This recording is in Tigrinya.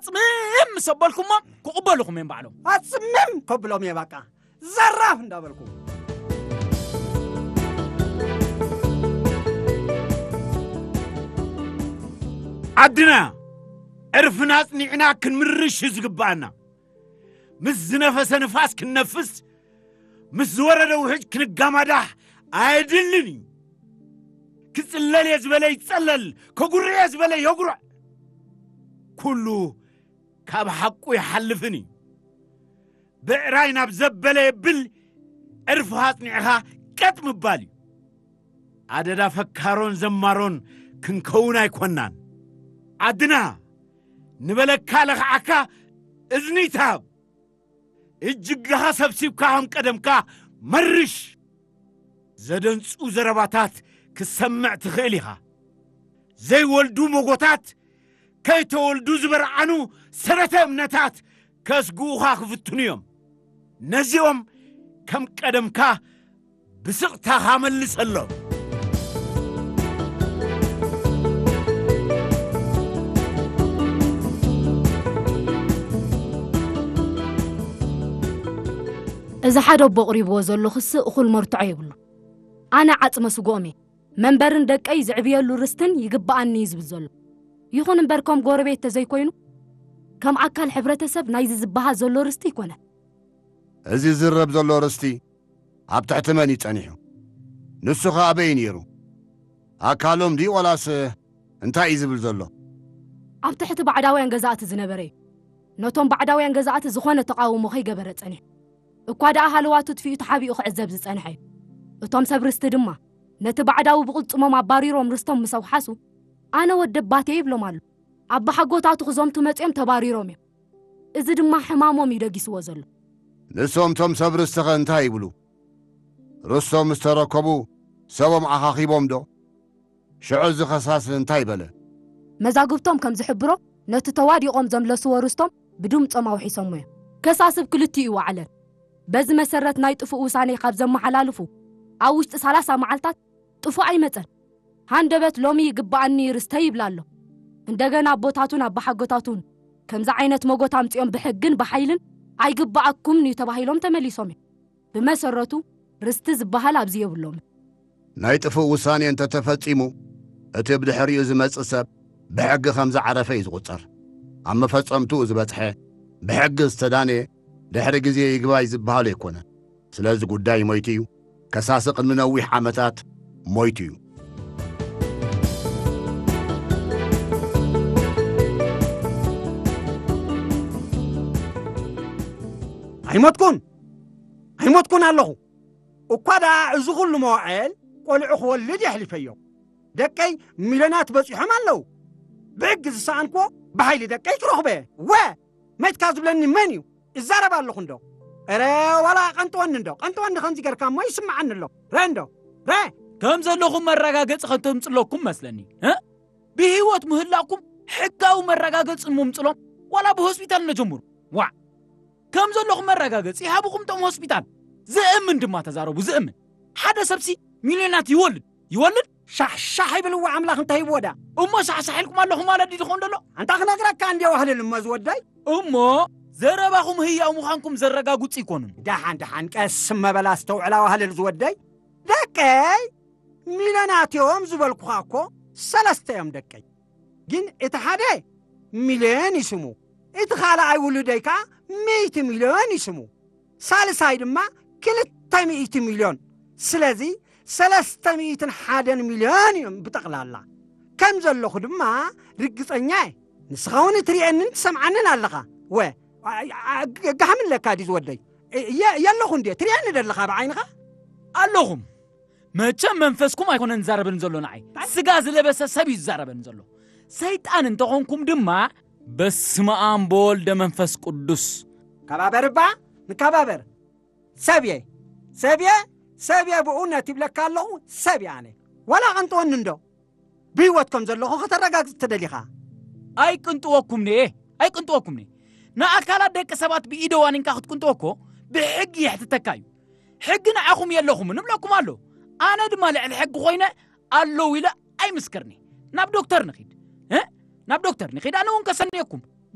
ጽምም ምስ ኣበልኩሞም ክቕበሉኹም እዮም ባዕሎም። ኣጽምም ከብሎም እየ በቃ። ዘራፍ እንዳበልኩ። ዓድና ዕርፍና ኣጽኒዕና ክንምርሽ እዩ ዝግብኣና። ምስ ዝነፈሰ ንፋስ ክንነፍስ፣ ምስ ዝወረደ ውሕጅ ክንጋማዳሕ ኣየድልን እዩ። ክጽለል እየ ዝበለ ይጸለል፣ ከጉርዕ እየ ዝበለ የጉርዕ። ኩሉ ካብ ሓቁ ይሓልፍን እዩ። ብዕራይ ናብ ዘበለ የብል፣ ዕርፍኻ ኣጽኒዕኻ ቀጥ ምባል እዩ። ኣደዳ ፈካሮን ዘማሮን ክንከውን ኣይኮናን። ዓድና ንበለካ ለኽዓካ እዝኒ ይትሃብ። እጅጋኻ ሰብሲብካ ከም ቀደምካ መርሽ። ዘደንጹ ዘረባታት ክትሰምዕ ትኽእል ኢኻ። ዘይወልዱ መጎታት ከይተወልዱ ዝበርዓኑ ሰረተ እምነታት ከስግኡኻ ክፍትኑ እዮም። ነዚኦም ከም ቀደምካ ብስቕታኻ መልሰሎም። እዚ ሓደ ኣቦ ኣቕሪብዎ ዘሎ ክሲ እኹል መርትዖ የብሉን። ኣነ ዓጽመ ስግኦም እየ። መንበርን ደቀይ ዝዕብየሉ ርስትን ይግብኣኒ እዩ ዝብል ዘሎ። ይኹን እምበር ከም ጎረቤት ተዘይኮይኑ ከም ኣካል ሕብረተሰብ ናይዚ ዝበሃል ዘሎ ርስቲ ኣይኮነን። እዚ ዝረብ ዘሎ ርስቲ ኣብ ትሕቲ መን እዩ ጸኒሑ? ንሱ ኸ ኣበይ ነይሩ? ኣካሎም ድዩ ዋላስ እንታይ እዩ ዝብል ዘሎ? ኣብ ትሕቲ ባዕዳውያን ገዛእቲ ዝነበረ እዩ። ነቶም ባዕዳውያን ገዛእቲ ዝኾነ ተቓውሞ ከይገበረ ጸኒሑ። እኳ ደኣ ሃለዋቱ ጥፊኡ ተሓቢኡ ክዕዘብ ዝጸንሐ እዩ። እቶም ሰብ ርስቲ ድማ ነቲ ባዕዳዊ ብቕልጽሞም ኣባሪሮም ርስቶም ምስ ኣውሓሱ፣ ኣነ ወደባትየ ይብሎም ኣሎ። ኣባሓጎታቱ ክዘምቱ መጺኦም ተባሪሮም እዮም። እዚ ድማ ሕማሞም እዩ ደጊስዎ ዘሎ። ንሶም እቶም ሰብ ርስቲ ኸ እንታይ ይብሉ? ርስቶም ምስ ተረከቡ ሰቦም ዓኻኺቦም ዶ? ሽዑ እዚ ኸሳሲ እንታይ በለ? መዛግብቶም ከም ዝሕብሮ ነቲ ተዋዲቖም ዘምለስዎ ርስቶም ብድምጾም ኣውሒሶሞ እዮም። ከሳሲ ብ ክልቲኡ ይወዓለን። በዚ መሰረት ናይ ጥፉእ ውሳኔ ካብ ዘመሓላልፉ ኣብ ውሽጢ ሰላሳ መዓልታት ጥፉእ ኣይመጸን። ሃንደበት ሎሚ ይግብኣኒ ርስተይ ይብል ኣሎ። እንደገና ኣቦታቱን ኣባሓጎታቱን ከምዚ ዓይነት መጎት ኣምጺኦም ብሕግን ብሓይልን ኣይግብኣኩምን እዩ ተባሂሎም ተመሊሶም እዮም። ብመሰረቱ ርስቲ ዝበሃል ኣብዚ የብሎም። ናይ ጥፉእ ውሳኔ እንተተፈጺሙ እቲ ብድሕሪኡ ዝመጽእ ሰብ ብሕጊ ከም ዝዓረፈ እዩ ዝቑጸር። ኣብ መፈጸምትኡ ዝበጽሐ ብሕጊ ዝተዳነየ ድሕሪ ግዜ ይግባይ ዝበሃል ኣይኮነን። ስለዚ ጉዳይ ሞይቱ እዩ። ከሳሲ ቅድሚ ነዊሕ ዓመታት ሞይቱ እዩ። ኣይሞትኩን ኣይሞትኩን ኣለኹ። እኳ ደኣ እዚ ኹሉ መዋዕል ቆልዑ ክወልድ የሕሊፈዮ። ደቀይ ሚልዮናት በጺሖም ኣለዉ። ብሕጊ ዝሰኣንክዎ ብሓይሊ ደቀይ ክረኽቦ እየ። ወ መይትካ ዝብለኒ መን እዩ? እዛረብ ኣለኹ እንዶ። እረ ዋላ ቀንጥወኒ እንዶ። ቀንጥወኒ ከምዚ ገርካ እሞ ይስምዓኒ ኣሎ። ረ እንዶ። ረ ከም ዘለኹም መረጋገጺ ከተምጽለኩም መስለኒ። እ? ብህይወት ምህላኩም ሕጋዊ መረጋገጺ ንምምጽሎም ዋላ ብሆስፒታል ነጀምሩ። ዋዕ ከም ዘለኹም መረጋገጺ ይሃብኹም እቶም ሆስፒታል። ዝእምን ድማ ተዛረቡ ዝእምን። ሓደ ሰብሲ ሚልዮናት ይወልድ ይወልድ ሻሕሻሕ ይብል እዋ ኣምላኽ እንታይ ይብዎ ዳ። እሞ ሻሕሻሕ ኢልኩም ኣለኹም ማለት ድዩ ዝኾን ደሎ? ኣንታ ክነግረካ እንዲ ዋህልል እሞ ዝወደይ። እሞ ዘረባኹም ህያው ምዃንኩም ዘረጋግጹ ይኮኑን። ደሓን ደሓን ቀስ መበል ኣስተውዕላ ዋህልል ዝወደይ። ደቀይ ሚልዮናት እዮም ዝበልኩኻ እኮ ሰለስተ እዮም ደቀይ። ግን እቲ ሓደ ሚልዮን ይስሙ፣ እቲ ካልኣይ ውሉደይ ከኣ ሚእቲ ሚልዮን ይስሙ፣ ሳልሳይ ድማ ክልተ ሚእቲ ሚልዮን። ስለዚ ሰለስተ ሚእትን ሓደን ሚልዮን እዮም ብጠቕላላ። ከም ዘለኹ ድማ ርግጸኛ እየ። ንስኻ እውን ትርእየንን ትሰምዓንን ኣለኻ። ወ ጋህም ኣለካ ድዩ ዝወደይ? የለኹ እንድየ ትርእየኒ ደለኻ ብዓይንኻ? ኣለኹም። መቸም መንፈስኩም ኣይኮነን ዝዛረበኒ ዘሎ ንዓይ፣ ስጋ ዝለበሰ ሰብ እዩ ዝዛረበኒ ዘሎ። ሰይጣን እንተኾንኩም ድማ በስመ ኣብ በወልደ መንፈስ ቅዱስ። ከባበር እባ ንከባበር። ሰብየ ሰብየ ሰብየ ብእውነት ይብለካ ኣለኹ። ሰብየ ኣነ ዋላ ቀንጥወኒ እንዶ ብህይወት ከም ዘለኹ ከተረጋግጽ ተደሊኻ። ኣይቅንጥወኩምኒ እየ ኣይቅንጥወኩምኒ። ንኣካላት ደቂ ሰባት ብኢደ ዋኒንካ ክትቅንጥወ እኮ ብሕጊ የሕትተካ እዩ። ሕጊ ንዓኹም የለኹምን እብለኩም ኣሎ። ኣነ ድማ ልዕሊ ሕጊ ኮይነ ኣለዉ ኢለ ኣይምስክርኒ። ናብ ዶክተር ንኺድ እ ናብ ዶክተር ንኺድ ኣነ እውን ከሰንየኩም።